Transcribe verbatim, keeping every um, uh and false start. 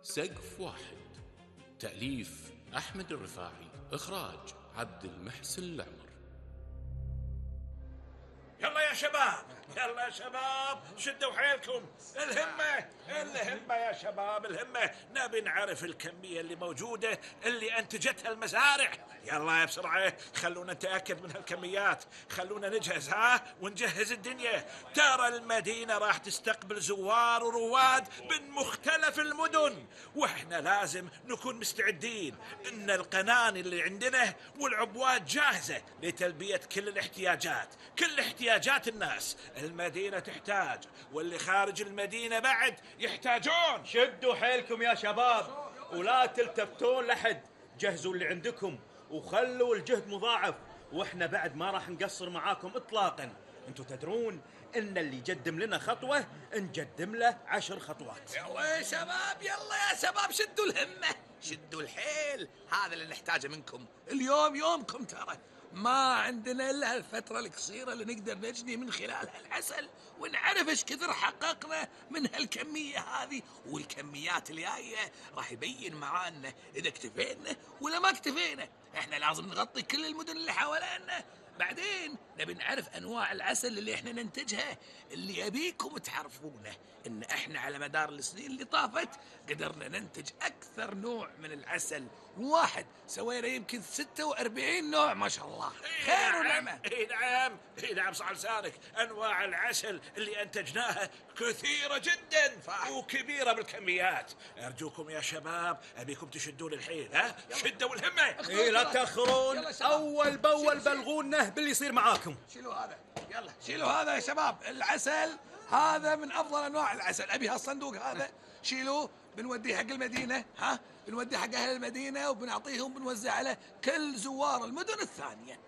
سقف واحد. تأليف أحمد الرفاعي، إخراج عبد المحسن العمر. يلا يا شباب، يلا يا شباب، شدوا حيلكم. الهمة الهمة يا شباب، الهمة. نبي نعرف الكمية اللي موجودة اللي أنتجتها المزارع. يلا يا بسرعة، خلونا نتأكد من هالكميات. خلونا نجهز ها ونجهز الدنيا. ترى المدينة راح تستقبل زوار ورواد من مختلف المدن، واحنا لازم نكون مستعدين. ان القناني اللي عندنا والعبوات جاهزة لتلبية كل الاحتياجات، كل احتياجات الناس. المدينة تحتاج، واللي خارج المدينة بعد يحتاجون. شدوا حيلكم يا شباب ولا تلتفتون لحد. جهزوا اللي عندكم وخلوا الجهد مضاعف، واحنا بعد ما راح نقصر معاكم اطلاقا. انتوا تدرون ان اللي يقدم لنا خطوة نقدم له عشر خطوات. يلا يا شباب، يلا يا شباب، شدوا الهمة، شدوا الحيل. هذا اللي نحتاجه منكم. اليوم يومكم، ترى ما عندنا إلا هالفترة القصيرة اللي نقدر نجني من خلالها العسل ونعرف إيش كثر حققنا من هالكمية هذه. والكميات اللي جاية راح يبين معانا إذا اكتفينا ولا ما اكتفينا. إحنا لازم نغطي كل المدن اللي حوالينا. بعدين نبي نعرف أنواع العسل اللي إحنا ننتجها. اللي يبيكم تعرفونه إن إحنا على مدار السنين اللي طافت قدرنا ننتج أكثر نوع من العسل. واحد سوينا يمكن ستة وأربعين نوع، ما شاء الله. خير ونعمة. اي نعم، اي نعم، صح لسانك. انواع العسل اللي انتجناها كثيرة جدا صح. وكبيرة بالكميات. ارجوكم يا شباب، ابيكم تشدون الحيل. ها شدوا الهمة. اي لا تأخرون، اول باول بلغونا باللي يصير معاكم. شيلوا هذا، يلا شيلوا هذا يا شباب. العسل هذا من افضل انواع العسل. ابي هالصندوق هذا شيلوه، بنوديه حق المدينة. ها بنوديه حق اهل المدينة وبنعطيهم، بنوزع على كل زوار المدن الثانية.